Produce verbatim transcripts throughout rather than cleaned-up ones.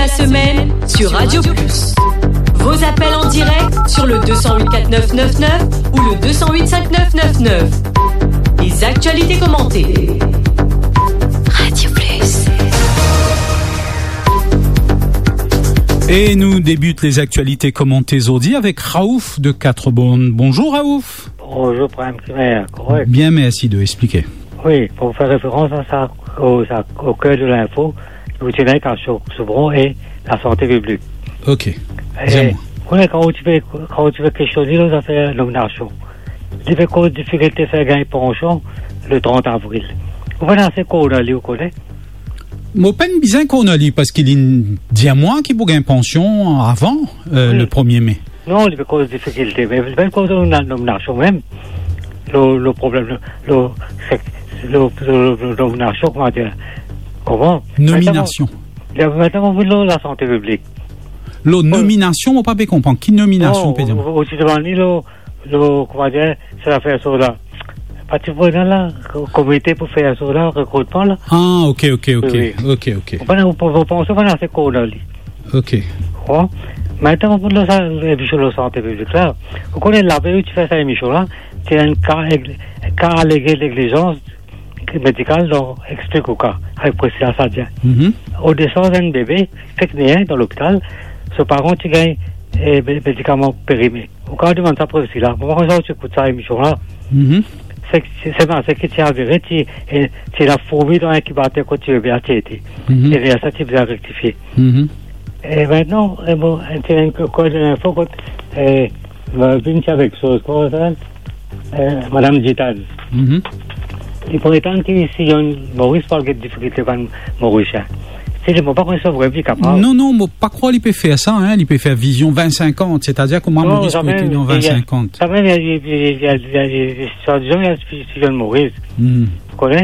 La semaine sur Radio Plus. Vos appels en direct sur le deux cent huit quatre neuf neuf neuf ou le deux cent huit cinq neuf neuf neuf. Les actualités commentées. Radio Plus. E nou debut lezaktialite komante zordi avek Raouf de Quatre-Bornes. Bonzour Raouf. Bonzour, Prem, kifer, korek? Bien, mersi de explike. Wi, pou fer referans a sa, o, sa, o ker de linfo, nou ti ena Kasio Soubron e lasante piblik. Ok. E, dir mwa. Kouma kan ou ti pe, kan ou ti pe kestione lor zafer nominasion, li pe koz difikilte fer gagn pansion le trant avril. Ou pena ase kornali, ou kone? Mo pena bizin kornali, parski li dir mwa ki pou gagn pansion avan, euh, Wi. le premier mai. Non, li pe koz difikilte, me li pe koz lor nominasion mem. Lor, lor problem, lor, lor, sek-, lor, lor, lor, lor nominasion, kouma dir? Kouma? Nominasion. Mintnan, mintnan, nou vinn lor lasante piblik. Lor Wi. nominasion, mo pa pe konpran. Ki nominasion, Non, pe dir? ou, ou ti demann li lor, lor, kouma dir, se zafer so la. Pa ti pou ena la, ko-, komite pou fer so la, rekrutman la. Ah, ok, ok, ok. Wi, wi. Ok, ok. Ou pena, ou, ou panse pena ase kornali. Ok. Bon. Mintnan, pou nou sa, emisyon lasante piblik la, ou kone lavey ou ti fer sa emisyon la, ti enn ka, ka alege neglizans medikal dan Explique ou ka, avek Priscilla Sadia. Mhm. Odesan enn bebe, fek ne dan lopital, so paran ti gagn, eh, me-, medikaman perime. Ou kapav demann sa Priscilla. Mo pa konn si ou ti ekout sa emisyon la. Mhm. Se, se, se pa, se ki ti avere, ti, eh, ti ena fourmi dan inkibater kot ti bebe a ti ete. Mhm. E ler sa ti bizin rektifie. Mhm. E mintnan, eh, bon, ti ena enn ko-, kor de linfo kot, eh, eh, vinn ti avek soz, kouma sa, eh, Madam Gitane. Mhm. Li pretann ki si enn Moris pou al get difikilte bann Morisien. Si li, mo pa konn si vremem li kapav. Non, non, mo pa krwar li pe fer sa, hein, li pe fer vizion vin sinkant, setadir kouma Non, Moris sa pou mem, ete dan li, vin sinkant. Sa mem, li, li, swadizan, li, si, si enn Moris. Hmm. Ou kone?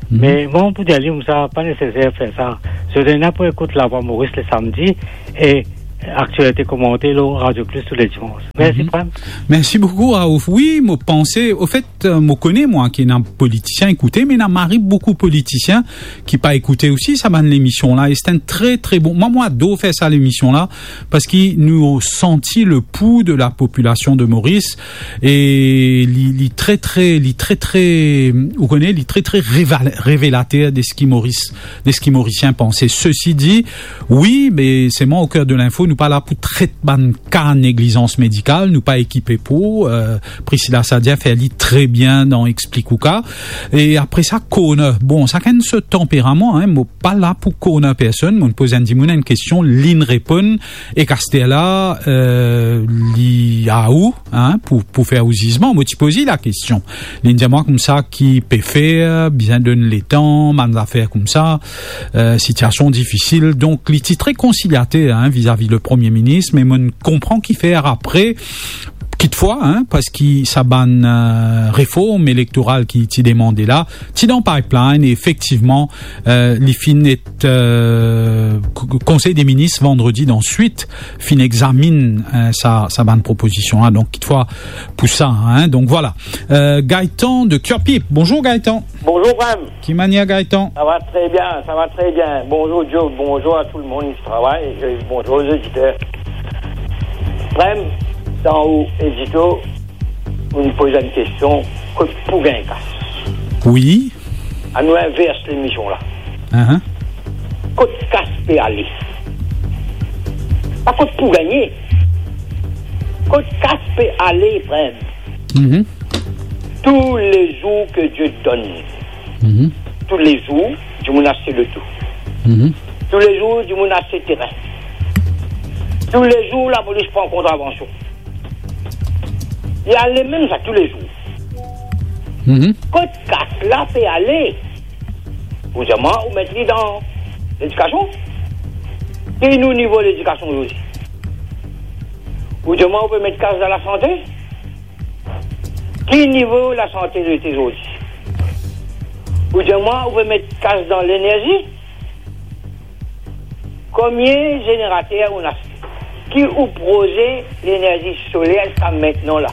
Mhm. Me mwa, pou dir li, sa pa neseser fer sa. Zot ena pou ekout Lavwa Moris le samdi e aktialite komante lor Radio Plus tou le dimans. Mersi, Mhm. Prem. Mersi boukou, Raouf. Wi, mo panse, ofet, euh, mo kone, mwa, ki ena politisien ekoute, me ena mari boukou politisien ki pa ekoute osi sa bann lemision la. E se enn tre, tre bon. Mwa, mo ador fer sa lemision la, parski nou santi le pou de la popilasion de Moris, e li, li tre, tre, li tre, tre, ou kone, li tre, tre reval-, revelater de seki Moris, de seki Morisien panse. Sesi di, wi, me selman o ker de linfo, nou pa la pou tret bann ka neglizans medikal, nou pa ekipe pou, euh, Priscilla Sadia fer li tre bien dan Explique ou ka. E apre sa, corner. Bon, sakenn so tanperaman, hein, mo pa la pou corner personn, mo poz enn dimoun enn kestion, linn reponn, e aster la, euh, li a ou, hein, pou, pou fer ou zizman. Mo ti poz li lakestion. Linn dir mwa koumsa ki pe fer, bizin donn letan, bann zafer koumsa, euh, sitiasion difisil. Donk, li ti tre konsiliater, hein, vizavi le Premie Minis, me mo konpran kifer apre, kitfwa, hein, parski sa bann, euh, reform elektoral ki ti demande la, ti dan pipeline, e efektivman, euh, li finn et, euh, k-, k-, Konsey de Minis vandredi dan swit finn examinn, euh, sa, sa bann propozision la. Donk, kitfwa pou sa, hein. Donk, vwala. Euh, Gaëtan de Curepipe. Bonzour, Gaëtan. Bonzour, Prem. Ki manier, Gaëtan? Sa va tre bien, sa va tre bien. Bonzour, Joe. Bonzour a tou lemonn ki travay. E bonzour, lezoditer. Prem, dan ou edito, ou poz enn kestion, kot pou gagn kas? Wi. Anou invers lemision la. Ahan. Kot kas pe ale? Pa kot pou gagne. Kot kas pe ale, Prem? Mhm. Tous les jours que Dieu donne. Mhm. Tous les jours, dimoun aste loto. Mhm. Tous les jours, dimoun aste terin. Tous les jours, lapolis pran kontravansion. Li ale mem sa tou le zour. Mhm. Kot kas la pe ale? Ou dir mwa, ou met li dan ledikasion? Ki nou nivo ledikasion ozordi? Ou dir mwa, ou pe met kas dan lasante? Ki nivo lasante nou ete ozordi? Ou dir mwa, ou pe met kas dan lenerzi? Konbien zenerater ou ena? Ki ou proze lenerzi soler ziska mintnan la?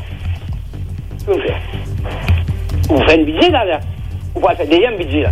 Ki ou fer? Ou fer enn bidze la, la. Ou pou al fer deziem bidze la.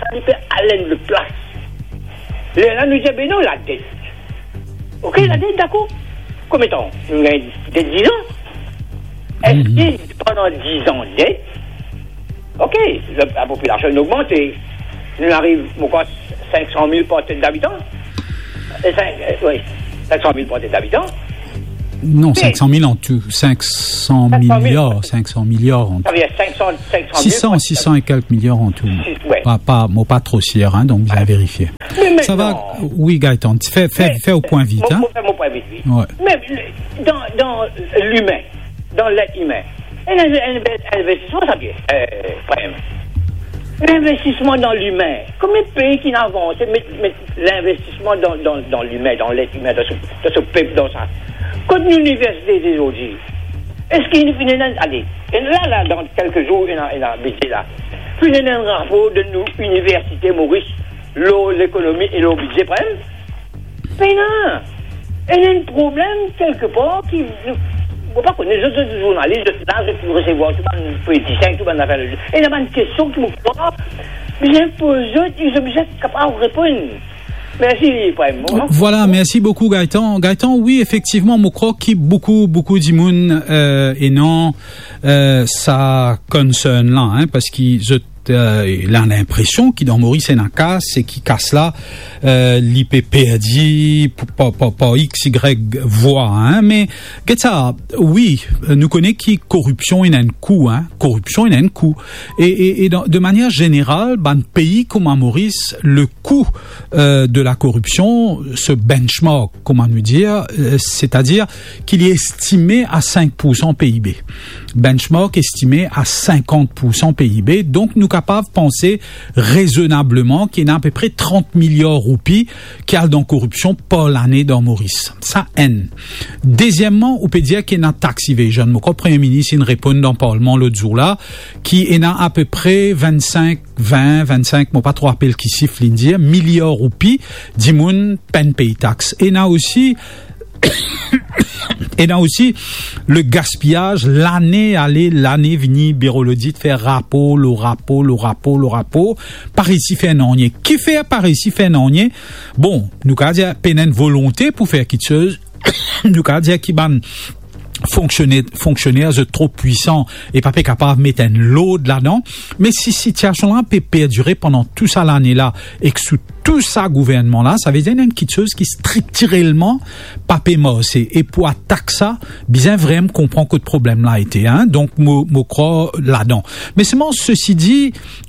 sa, li pe al enn lot plas. Lerla nou dir, be non, ladet. Ok, ladet, dakor. Konbien tan? Nou gagn de diz an. Eski pandan diz an det, ok, le, lapopilasion in ogmante. Nou ariv, mo krwar, sink san mil par tet dabitan. E sink, e, wi, sink san mil par tet dabitan. Non, sink san mil an tou. Sink san miliar, sink san miliar an tou. Sa ve dir sink san, sink san mil par tet dabitan. Sis san, sis san e kelk miliar an tou. Sis, wi. Pa, pa, mo pa tro sir, hein, donk bizin verifie. Sa va, wi, Gaëtan, fer, fer, fer ou pwin vit, hein. Mo, mo fer mo pwin vit, wi. Wi. Me dan, dan limin, dan let imin, enn, enn, enn investisman, sa, Pierre, eh, Prem. Linvestisman dan limin. Konbien pei ki'nn avanse met, met linvestisman dan, dan, dan limin, dan let imin, dan so, dan so pep, dan sa? Kot nou liniversite zordi? Eski nou finn ena, ale, e la, la, dan kelke zour, ena, ena bidze la. Finn ena enn rapor de nou liniversite Moris lor lekonomi e lor bidze, Prem? Pena. Ena enn problem kelkepar ki, nou, mo pa kone, zot, zot zournalis, zot la, zot pou resevwar tou bann politisien, tou bann zafer, ena bann kestion ki mo krwar bizin poz zot, zot bizin kapav reponn. Mersi, Prem. Vwala, mersi boukou, Gaëtan. Gaëtan, wi, efektivman, mo krwar ki boukou, boukou dimoun, eh, ena, eh, sa concern la, hein, parski zot, eh, ena linpresion ki dan Moris ena kas, e ki kas la, eh, li pe perdi p-, pa, pa, par X, Y vwa, hein. Me get sa, wi, nou kone ki koripsion ena enn kou, hein. Koripsion ena enn kou. E, e, e dan, de manier zeneral, bann pei kouma Moris, le kou, eh, de lakoripsion, se benchmark, kouma nou dir, eh, setadir ki li estime a sink pour san P I B. Benchmark estime a sinkant pour san P I B. Donk, nou kapav panse rezonableman ki ena apepre trant miliar roupi ki al dan koripsion par lane dan Moris. Sa, enn. Dezieman, ou pe dir ki ena tax evasion. Mo krwar Premie Minis inn reponn dan Parlman lot zour la, ki ena apepre vennsink, vin, vennsink, mo pa tro rapel ki sif li'nn dir, miliar roupi dimoun pa'nn pey tax. Ena osi, ena osi le gaspiyaz, lane ale, lane vini, Biro Lodit fer rapor lor rapor, lor rapor, lor rapor, pa reysi fer nanye. Kifer pa reysi fer nanye? Bon, nou kapav dir pena enn volonte pou fer kiksoz, nou kapav dir ki bann fonksione-, fonksioner, zot tro pwisan e pa pe kapav met enn lord ladan. Me si sitiasion la pe perdire pandan tou sa lane la, ek sou tou sa gouvernman la, sa ve dir ena enn kiksoz ki striktirelman pa pe marse. E pou atak sa, bizin vremem konpran kot problem la ete, hein. Donk, mo, mo krwar ladan. Me selman, sesi di,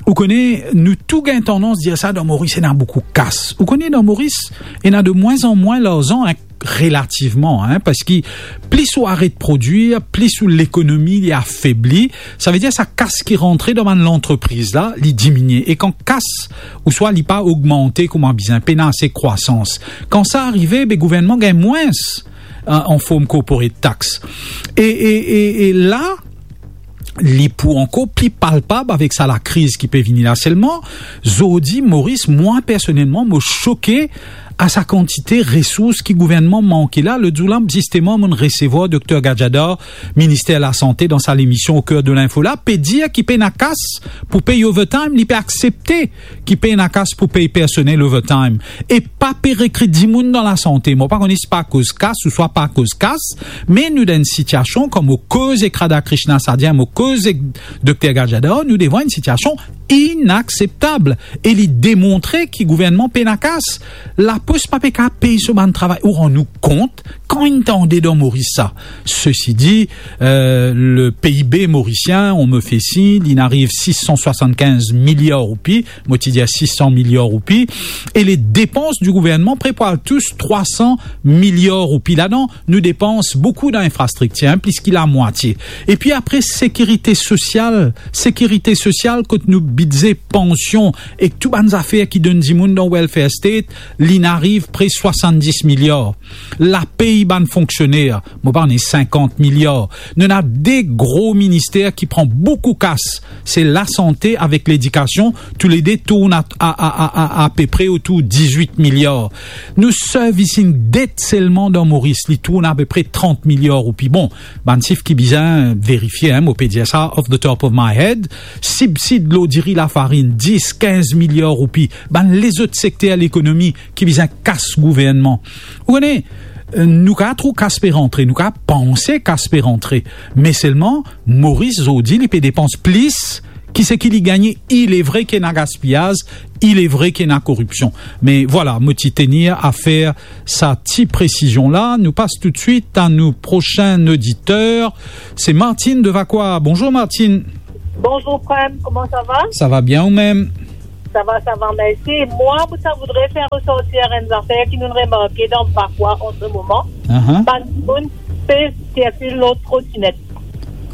ou kone, nou tou gagn tandans dir sa, dan Moris ena boukou kas. Ou kone, dan Moris, ena de mwin an mwin larzan, hein, relativman, hein, parski plis ou aret prodwir, plis ou lekonomi li afebli, savedir sa kas ki rantre dan bann lantrepriz la, li diminie. E kan kas, ouswa li pa ogmante kouma bizin, pena ase krwasans, kan sa arive, be gouvernman gagn mwins, euh, an form corporate tax. E, e, e, e la, li pou ankor pli palpab avek sa lakriz ki pe vini la. Selman, zordi, Moris, mwa, personelman, mo soke a sa kantite resours ki gouvernman manke la. Lot zour la, zisteman, mo'nn resevwar Dokter Gadjadar, minister lasante, dan sa lemision Au cœur de l'info la, pe dir ki pena kas pou pey overtime, li pe aksepte ki pena kas pou pey personel overtime. E pa pe rekrit dimoun dan lasante. Mo pa kone si pa akoz kas ouswa pa akoz kas, me nou dan enn sitiasion, kouma koz ek Radhakrishnan Sadia, mo koz ek Dokter Gadjadar, nou devan enn sitiasion inakseptab. E li demontre ki gouvernman pena kas. Lapos pa pe kapav pey so bann travayer. Ou rann ou kont, kan inn tande dan Moris sa? Sesi di, euh, le P I B morisien, on me fait signe, li ariv sis san swasannkinz miliar roupi, mo ti dir sis san miliar roupi, e le depans di gouvernman pre pou al tous trwa san miliar roupi. Ladan, nou depans boukou dan linfrastriktir, hein, plis ki lamwatie. Epi apre, sekirite sosial, sekirite sosial, kot nou bidze pansion ek tou bann zafer ki donn dimoun dan welfare state, li'nn ariv pre swasanndis miliar. Lapey bann fonksioner, mo pa kone, sinkant miliar. Nou ena de gro minister ki pran boukou kas, se lasante avek ledikasion, toulede tourn a, a, a, a, a, apepre otour dizwit miliar. Nou servicing debt selman dan Moris, li tourn apepre trant miliar roupi. Bon, bann sif ki bizin verifie, hein, mo pe dir sa off the top of my head. Sibsid lor diri, lafarinn, dis, kinz miliar roupi. Bann lezot sekter lekonomi ki bizin kas gouvernman. Ou kone, euh, nou kapav trouv kas pe rantre, nou kapav panse kas pe rantre, me selman, Moris zordi, li pe depans plis ki seki li gagne. Il est vrai ki ena gaspiyaz, il est vrai ki ena koripsion. Me vwala, mo ti tenir a fer sa ti presizion la. Nou pas toutswit a nou prosin oditer. Se Martine de Vacoas. Bonzour, Martine. Bonzour, Prem. Comment ça va? Sa va bien, ou mem? Ça va, ça va, merci. Moi, ça voudrait faire ressortir une affaire qui nous remarque dans Vacoas en ce moment. Aha. Bann dimoun pe sirkil lor trotinette.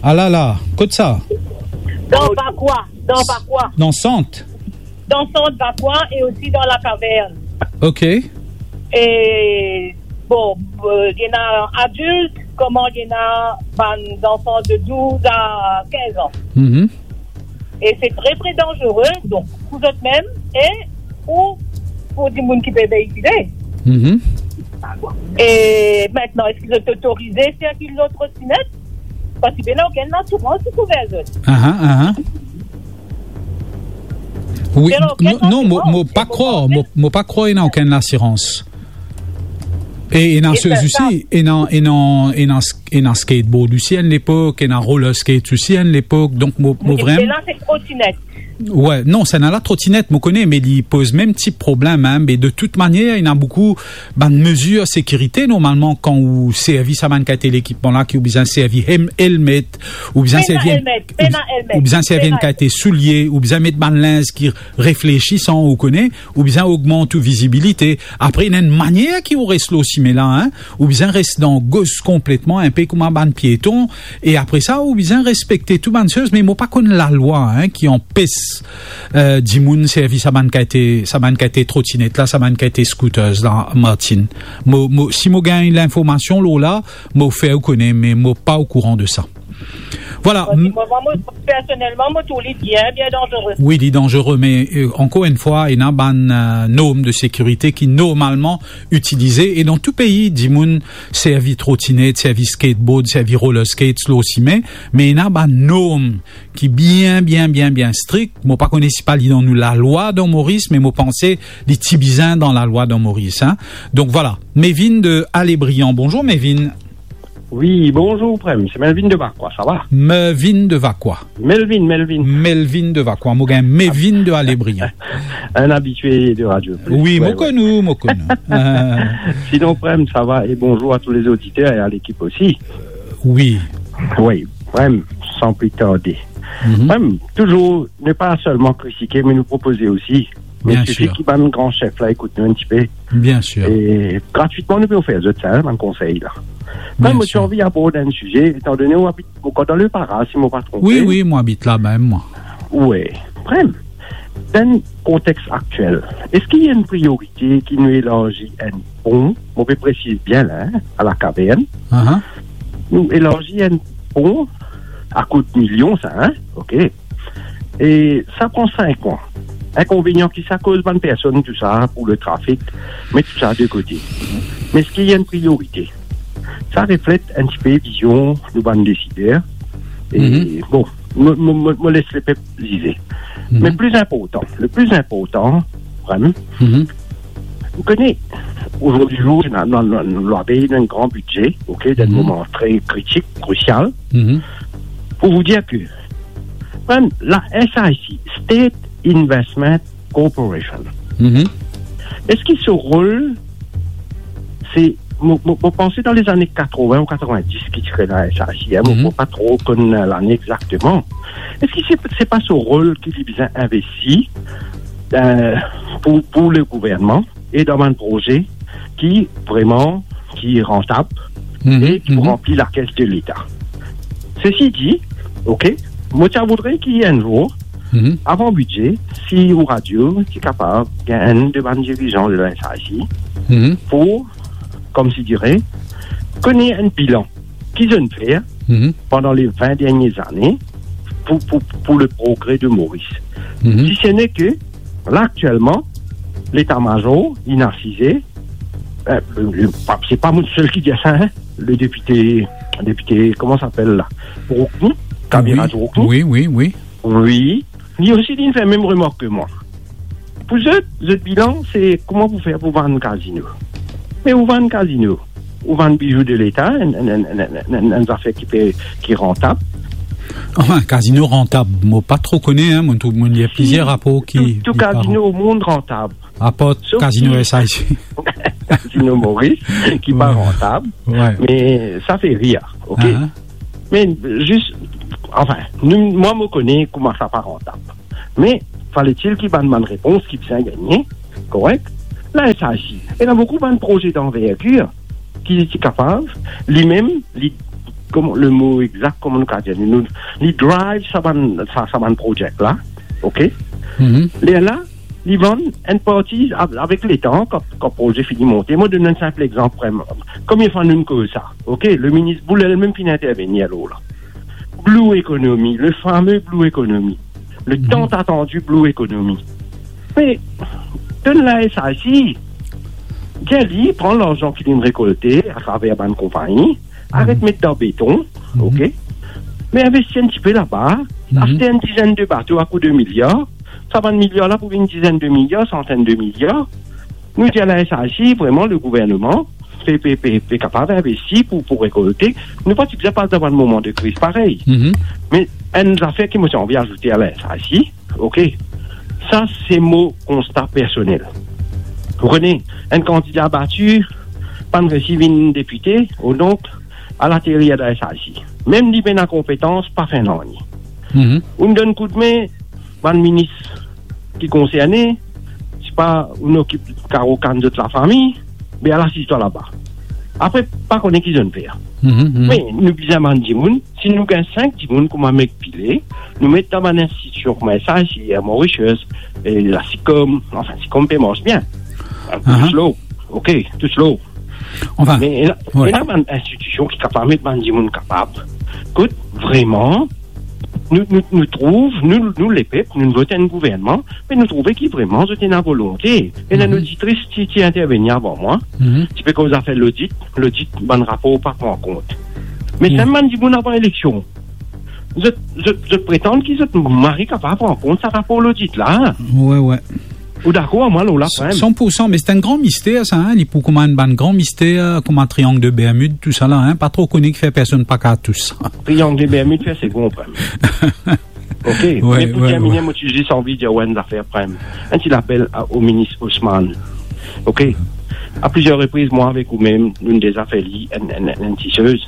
Ah là là, kot sa? Dans Vacoas, dans Vacoas. Dan sant? Dans sant Vacoas et aussi dans la caverne. Ok. E, bon, euh, ena adilt, kouma ena bann zanfan de douz a kinz an. Mhm. E se tre, tre danzere, donk, pou zot mem e pou, pou dimoun ki pe veikile. Mhm. E aster, eski zot otorize sirkil lor trotinette? Parski pena okenn lasirans ki kouver zot. Aha, aha. Wi, pena okenn lasirans. Non, non, mo, mo pa krwar, mo, mo pa krwar ena okenn lasirans. E ena, e sa, osi, ena, ena, ena sk-, ena skateboard osi enn lepok, ena roller skates osi enn lepok, donk mo, mo... Wi, vrem-, me la se trotinette. Wi, non, sa ena la trotinette, mo kone, me li poz mem ti problem, hein, me de tout manier, ena boukou bann mezir sekirite, normalman, kan ou servi sa bann kalite lekipman la, ki ou bizin servi hem-, helmet, ou bizin servi enn, pena helmet, ou bizin servi enn kalite soulie, ou bizin met bann linz ki reflesisan, ou kone, ou bizin ogmant ou vizibilite. Apre, ena enn manier ki ou res lor sime la, hein, ou bizin res dan gos konpletman, inpe kouma bann pieton, e apre sa, ou bizin respekte tou bann soz, me mo pa konn lalwa, hein, ki anpes, euh, dimoun servi sa bann kalite, sa bann kalite trotinette la, sa bann kalite scooters la, Martine. Mo, mo, si mo gagn linformasion lor la, mo fer ou kone, me mo pa okouran de sa. Vwala. Parski mwa, mwa, mo, personelman, mo trouv li bien, bien danzere. Wi, li danzere, me, euh, ankor enn fwa, ena bann, euh, norm de sekirite ki normalman itilize, e dan tou pei, dimoun servi trotinette, servi skateboard, servi roller skates lor sime, me ena bann norm ki bien, bien, bien, bien strik. Mo pa kone si pa li dan nou lalwa dan Moris, me mo panse li ti bizin dan lalwa dan Moris, hein. Donk vwala, Mevin de Alé Briand. Bonzour, Mevin. Wi, bonzour, Prem. Se Melvin de Vacoas, sa va? Melvin de Vacoas. Melvin, Melvin. Melvin de Vacoas. Mo gagn Mevin de Alé Briand. Un habitué de Radio Plus. Wi, wi, mo konn ou, mo konn ou. Sinon, Prem, ça va? Et bonjour à tous les auditeurs et à l'équipe aussi. Wi. Wi, Prem, sans plus tarder. Mhm. Prem, toujours, ne pas seulement critiquer, mais nous proposer aussi Bien sir. Sifi ki bann gran sef la ekout nou enn tipe. Bien sir. E gratwitman, nou pe ofer zot sa, bann konsey la. Bien sir. Mem, mo ti anvi abord enn size, etandone ou abit, ou dan le Para, si mo pa tronpe. Wi, wi, mo abit la mem, mwa. Wi. Vremem, dan kontex aktiel, eski ena enn priyorite ki nou elarzi enn pon? Mo pe presiz bien la, hein, a La Caverne. Aha. Nou elarzi enn pon, a kout milion sa, hein? Ok. E sa pran sink mwa. Inkonvenian ki sa koz bann personn, tou sa, pou le trafik, met tou sa de kote. Me eski ena enn priyorite? Sa reflet enn tipe vizion nou bann desider. E, mhm, bon, mo, mo, mo, mo les lepep zize. Mhm. Me pli inportan, le pli inportan, vremem, mhm, ou kone, ozordi zour, nou, nou, nou, nou, nou ena enn gran bidze, ok, dan enn, mhm, moman tre kritik, krisial. Mhm. Pou vous dire que, vremem, la S I C, State Investment Corporation. Mhm. Eski so rol, se, mo, mo, mo panse dan lezane katrovin ou katrovin-dis ki ti kre la S I C, hein, mo, mhm, mo pa tro konn lane exakteman. Eski se, se pa so rol ki li bizin investi, euh, pou, pou le gouvernman e dan bann proze ki vreman, ki rantab, mhm, e ki pou, mhm, ranpli lakes de Leta. Sesi di, ok, mo ti a voudre ki enn zour, mhm, avan bidze, si ou radio ti kapav gagn enn de bann dirizan de la S I C, mhm, pou, koumsi dire, kone enn bilan ki zot inn fer, mhm, pandan le vin dernie zane pou, pou, pou le progre de Moris. Mhm. Si se ne ke, la, aktielman, leta mazor, inn asize, euh, le, le, pa, se pa mwa sel ki dir sa, hein, le depite, depite, kouma sa apel la? Rouknou, Kabir, wi, Rouknou. Wi, wi, wi. Wi, li osi, li fer mem remark ke mwa. Pou zot, zot bilan, se kouma pou fer pou vann kazino. Me ou vann kazino, ou vann bizou de Leta, enn, enn, enn zafer ki pe, ki rantab. Anfin, kazino rantab, mo pa tro kone, hein, mo trouv, mo lir plizier rapor ki, tou, tou ki pa kazino o mond rantab. Apar sof kazino ki S I C. Kazino Moris, ki pa rantab, wi, me sa fer rir, ok? Aha. Me zis, anfin, nou, mwa, mo kone kouma sa pa rantab. Me faletil ki bann, bann repons ki bizin gagne, korek? La S I C, ena boukou bann proze danvergir ki, ki kapav, limem, li, kouma, le mo exak, kouma nou kapav dir, nou, li drive sa bann, sa, sa bann proze la, ok? Mhm. Lerla, li vann enn parti av-, avek letan, kan, kan proze fini monte. Mo donn enn sinp lexanp, vremem. Konbien fwa nou koz sa, ok? Le minis Boulel mem finn intervenir lor la. Blue Economy, le fameux Blue Economy, le, mhm, tant attendu Blue Economy. Me donn la S I C, dir li pran larzan ki linn rekolte atraver bann konpagni, aret, mhm, met dan beton, mhm, ok? Me investi enn tipe laba, mhm, aste enn dizenn de bato a kou de miliar, sa bann miliar la pou vinn dizenn de miliar, santenn de miliar. Nou dir la S I C, vremem, le gouvernman pe, pe, pe, pe kapav investi pou, pou rekolte. Nou pa ti bizin pas dan bann moman de kriz parey. Mhm. Me enn zafer ki mo ti anvi azoute a la S I C, ok, sa se mo konsta personel. Ou kone, enn kandida bati, pa'nn resi vinn depite, o donk, al aterir la S I C. Mem li pena konpetans, pa fer nanye. Mhm. Ou'nn donn koudme, bann minis ki konserne, sipa ou'nn okip karo kann zot lafami, be al asiz twa laba. Apre, pa kone ki zot inn fer. Mhm, mhm. Me nou bizin bann dimoun, si nou gagn sink dimoun kouma Meg Pillay, nou met dan bann institision kouma S I C, Air Mauritius, e la SICOM, anfin, SICOM pe mars bien. Aha. Tou slow. Ok, tou slow. Anfin, me ena, wi, ena bann institision ki kapav met bann dimoun kapav. Kot vremem, nou, nou, nou trouv, nou, nou lepep, nou vot enn gouvernman, me nou trouve ki vremem zot ena volonte. Ena, mhm, enn oditris ti, ti intervenir avan mwa, mhm, ti pe koz zafer lodit, lodit bann rapor pa pran kont. Me, wi, sa bann dimoun avan eleksion, zot, zot, zot pretann ki zot mari kapav pran kont sa rapor lodit la. Wi, wi. Ou dakor ar mwa lor la, kanmem? San pou san, me se enn gran mister sa, hein, li pou kouma enn bann gran mister, kouma Triangle de Bermude, tou sa la, hein, pa tro kone kifer personn pa kapav tous. Triangle de Bermude fer segon, kanmem. Ok, wi, me pou, wi, termine, wi, mo ti zis anvi dir ou enn zafer, kanmem. Enn ti lapel a, o minis Osman. Ok? A plizier repriz, mwa avek ou mem, nou'nn deza fer li enn, enn, enn, enn ti soz.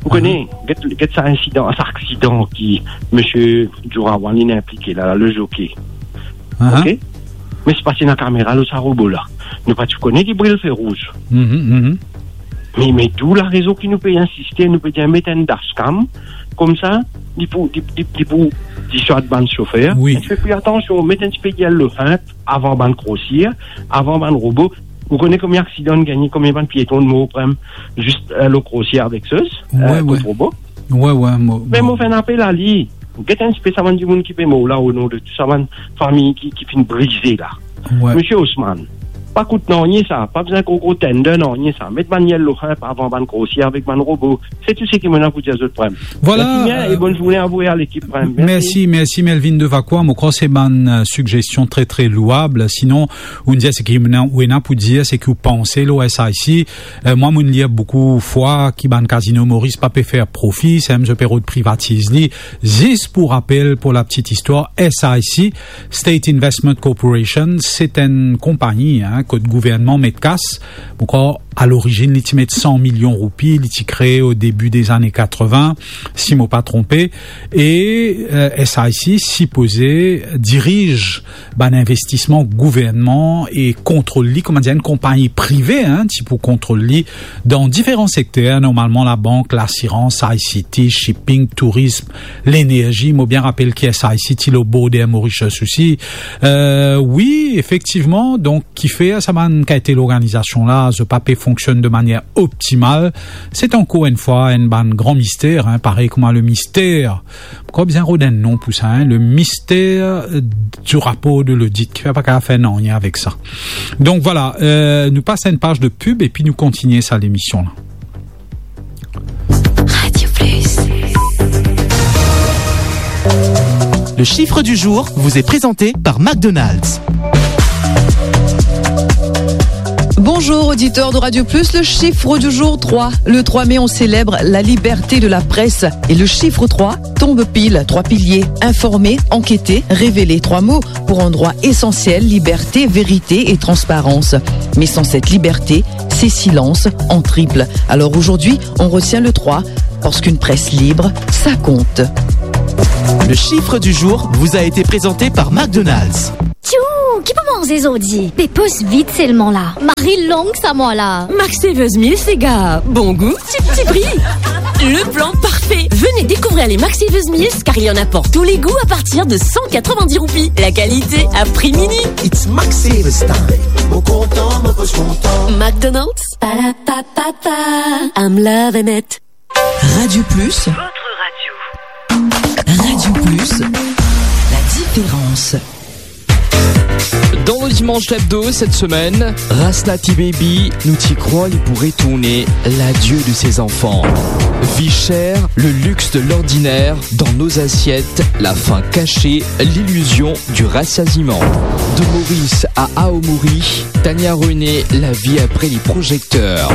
Ou kone, aha, get, get sa insidan, sa aksidan ki misie Djourawan inn inplike la, la, le zokey. Aha. Ok? Me si pase ena kamera lor sa robo la, nou pa ti kone ki bril fer rouz. Mhm, mhm. Me, me tou larezon ki nou pe insiste, nou pe dir met enn dashcam, koumsa, li pou, li, li, li pou diswad bann sofer. Wi. Fer pli atansion, met enn tipe diel lor sinp avan bann krosir, avan bann robo. Ou kone konbien aksidan gagne, konbien bann pieton mor, par exanp, zis, eh, lor krosir avek sa, eh, wi, kot wi. Robo. Wi, wi, mo, me mo, mo fer enn apel a li. Get enn tipe sa bann dimoun ki pe mor la, o non de tou sa bann fami ki, ki finn brize la. Wi. Misie Osman, pa kout nanye sa, pa bizin gro gro tender nanye sa. Met bann diel lor sinp avan bann krosir avek bann robo. Se tou seki mo ena pou dir zot, frem. Vwala, mersi bien, eh, e bonn zourne a ou e a lekip, frem. Mersi. Mersi, mersi Melvin de Vacquois. Mo krwar se bann, eh, sigzestion tre, tre louab. Sinon, ou dir seki ou ena, ou ena pou dir, seki ou panse lor S I C. Eh, mwa, mo'nn lir boukou fwa ki bann kazino Moris pa pe fer profi, samem zot pe rod privatiz li. Zis pou rapel, pou la petite histoire, S I C, State Investment Corporation, se enn konpagni, hein, kot gouvernman met kas. Mo krwar, a lorizinn, li ti met san milion roupi, li ti kree o debi de zane katrevin, si mo pa tronpe. E, eh, S I C sipoze diriz bann investisman gouvernman e kontrol li, kouma dir, enn konpagni prive, hein, ti pou kontrol li dan diferan sekter, normalman labank, lasirans, I C T, shipping, tourism, lenerzi. Mo bien rapel ki S I C ti lor border Mauritius osi. Eh, wi, efektivman, donk, kifer sa bann kalite lorganizasion la, zot pa pe fonksionn de manier optimal. Se ankor enn fwa enn bann gran mister, hein, parey kouma le mister, mo krwar bizin rod enn non pou sa, hein, le mister, eh, du rapor de lodit, kifer pa kapav fer nanye avek sa. Donk vwala, eh, nou pas enn paz de pib epi nou kontinie sa lemision la. Radio Plus. Le chiffre du jour vous est présenté par McDonald's. Bonjour auditeurs de Radio Plus, le chiffre du jour, trois. Le trois mai, on célèbre la liberté de la presse et le chiffre trois tombe pile, trois piliers, informer, enquêter, révéler, trois mots pour un droit essentiel, liberté, vérité et transparence. Mais sans cette liberté, c'est silence en triple. Alors aujourd'hui, on retient le trois, parce qu'une presse libre, ça compte. Le chiffre du jour vous a été présenté par McDonald's. Tiou, ki pou manze zordi? Pe pos vit selman la. Mari long sa mwa la. Max Savers Meals, les gars. Bon goût, ti, ti pri. Le plan parfait. Venez découvrir les Max Savers Meals, car il y en a pour tous les goûts à partir de cent quatre-vingt-dix roupies. La qualité à prix mini. It's Max Savers time. Mo kontan, mo pos kontan. McDonald's. Pa la pa pa pa. I'm loving it. Radio Plus. Votre radio. Radio Plus, la différence. Dans le Dimanche Hebdo cette semaine, Rasnati Baby, nou ti krwar li pou retourne ladieu de ses enfants. Vie chère, le luxe de l'ordinaire, dans nos assiettes, la faim cachée, l'illusion du rassasiement. De Maurice à Aomori, Tania René, la vie après les projecteurs.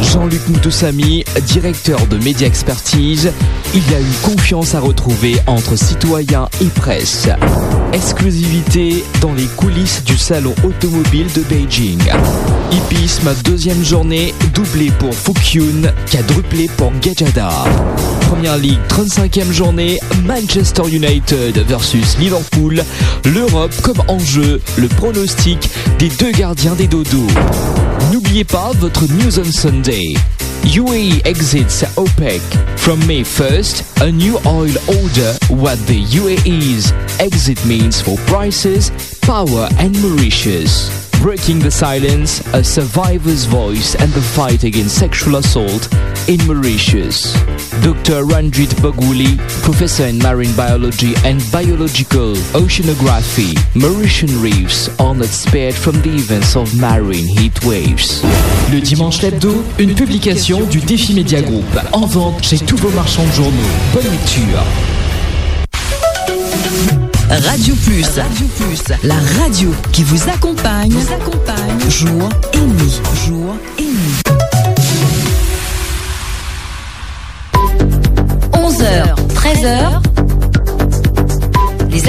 Jean-Luc Moutoussamy, directeur de Média Expertise, il y a une confiance à retrouver entre citoyens et presse. Exclusivité dans les coulisses du salon automobile de Beijing. Hippisme, deuxième journée, doublé pour Fukyun, quadruplé pour Gajada. Première Ligue, trente-cinquième journée, Manchester United versus Liverpool. L'Europe comme enjeu, le pronostic des deux gardiens des Dodos. N'oubliez pas votre News on Sunday. U A E exits OPEC. From May first, a new oil order, what the U A E's exit means for prices, power and Mauritius. Breaking the silence, a survivor's voice and the fight against sexual assault in Mauritius. Doctor Ranjit Boguly, professor in marine biology and biological oceanography, Mauritian reefs are not spared from the events of marine heat waves. Le Dimanche Hebdo, une publication du Défi Média Group, en vente chez tous vos marchands de journaux. Bonne lecture. Radio Plus. Radio Plus, la radio qui vous accompagne, vous accompagne jour et nuit. Jour et nuit. Onze heures, treize heures,